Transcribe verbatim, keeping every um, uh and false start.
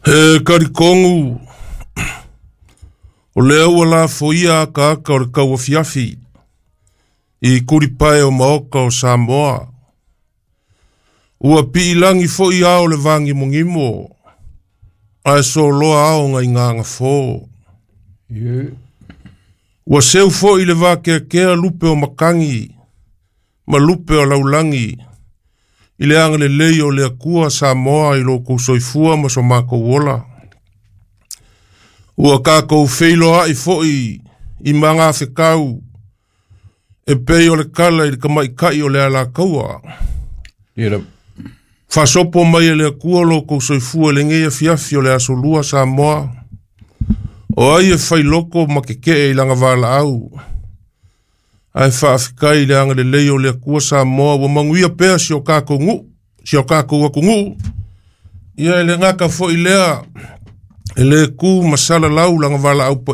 E talitonu o lea ua lafoia akaaka o le tauafiafi i tulipae o maota o Samoa. Ua piilagi foi ao le vagimogimo ae soloa ao nai gagafo. Yeah. Ua seu foi le vakeakea lupe o matagi ma lupe o laulagi i le agalelei o le Atua Samoa i lo kou soifua ma so matou ola. Ua tatou feiloai foi i magafetau e pei o le kala i le tamaitai o le alataua. Yeah. Faasopo mai e le Atua lo kou soifua i lenei afiafi o le aso lua Samoa. O ai e failoko ma kekee i lana valaau. Ae faafetai i le agalelei o le Atua Samoa ua manuia pea si o tatou nuu, si o tatou atunuu. Ia e le gata foi lea e le tu ma salalau lana valaau